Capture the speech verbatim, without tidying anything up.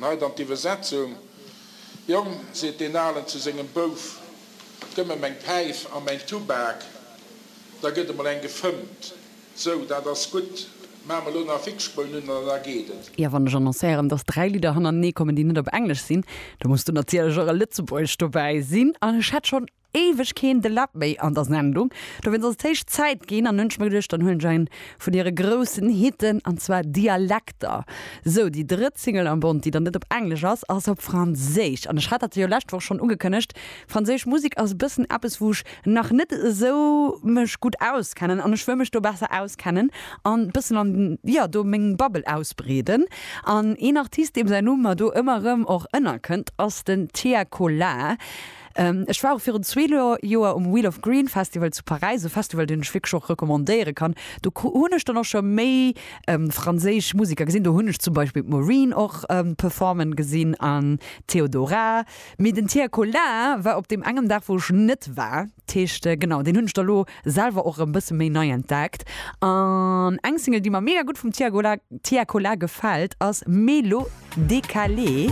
Nei dann d'Iwwersetzung, Jong, seet deen Alen zu sengem Bouf, gëmm mer meng Päif a mäin Tubak, da gëtt emol eng gefëmmt. Sou, dat ass gutt, maache mer elo nach Fixspoun un an da geet et. Jo, wann ech annoncéieren, dass dräi Lidder hannertenee kommen, déi net op Englesch sinn, da muss do natierlech och e Lëtzebuergescht dobäi sinn. An ech hat schonn éiweg keen De Läb méi an der Sendung, dowéinst ass et héich Zäit ginn. An hunn ech mer geduecht, dann huelen ech een vun hire groussen Hitten, an zwar Dialekter. Sou, déi drëtt Single am Bond, déi dann net op Englesch ass, ass op Franséisch. An ech hat dat jo lescht Woch schonn ugekënnegt, franséisch Musek ass e bëssen eppes, wou ech nach net esou mech gutt auskennen an ech wëll mech do besser auskennen an bëssen an, jo, do meng Bubble ausbreeden. An een Artist, deem säin Numm mer do ëmmer erëm och ënnerkënnt, ass den Tiakola. Ech war och virun zwee Joer um Wheel of Green Festival zu Paräis, e Festival, deen ech wierklech och recommandéiere kann. Do hunn ech dann och scho méi franséisch Museker gesinn. Do hunn ech zum Beispill d'Maureen och performen gesinn an d'Theodora. Mee den Tiakola war op deem engem Dag, wou ech net war. Dat heescht, genau, deen hunn ech da lo selwer och erëm bësse méi nei entdeckt. An eng Single, déi mer mega gutt vum Tiakola gefält, ass Mélo Décalé.